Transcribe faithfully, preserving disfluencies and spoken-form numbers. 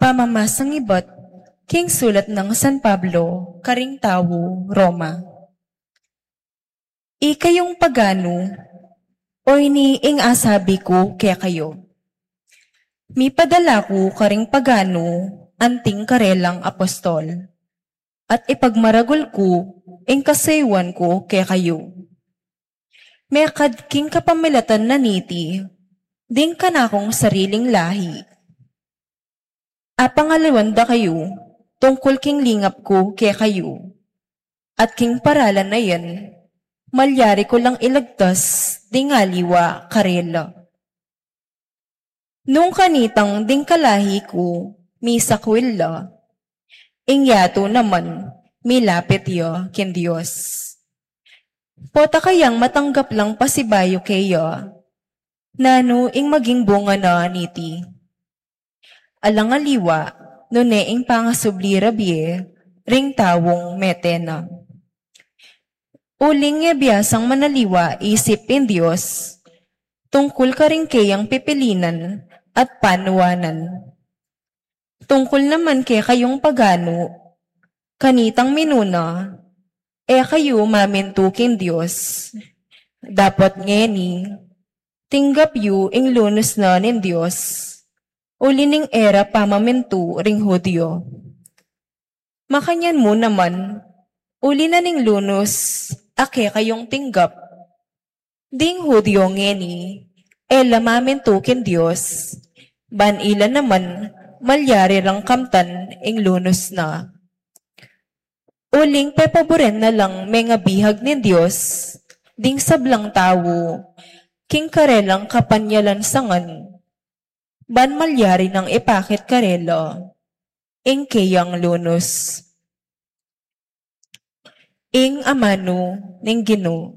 Pamamasang ibat king sulat nang San Pablo karing tau Roma. Ikayung paganu, o ini ing asabi ku kekayu. Mipadala ku karing paganu anting karelang apostol, at ipagmaragul ku ing kasayuan ku kekayu. Mekad king kapamilatan na niti, ding kanakung sariling lahi. Apangaliwan da kayu tungkul king lingap ku kekayu, at king paralan na yan, malyari ku lang ilagtas ding aliwa karela. Nung kanitang ding kalahi ku misakwil la, ing yatu naman milapit ya king Dios. Pota kayang matanggap lang pasibayu keya, nanu ing maging bunga na niti? Alang aliwa, nune ing pangasubli ra bie ring taung mete na. Uling e biasang manaliwa isip ing Dios tungkul karing keyang pipilinan at panuanan. Tungkul naman kekayung paganu, kanitang minuna, e kayu mamintu king Dios. Dapot ngeni, tinggap yu ing lunus na ning Dios, uli ning e ra pamamintu ring Judio. Makanyan mu naman, uli na ning lunus a kekayung tinggap, ding Judio ngeni, e la mamintu king Dios, ban ila naman malyari rang kamtan ing lunus na. Uling pepaburen na lang mengabihag ning Dios ding sablang tau king karelang kapanyalansangan, ban malyari nang ipakit karela ing keyang lunus. Ing amanu ning Ginu.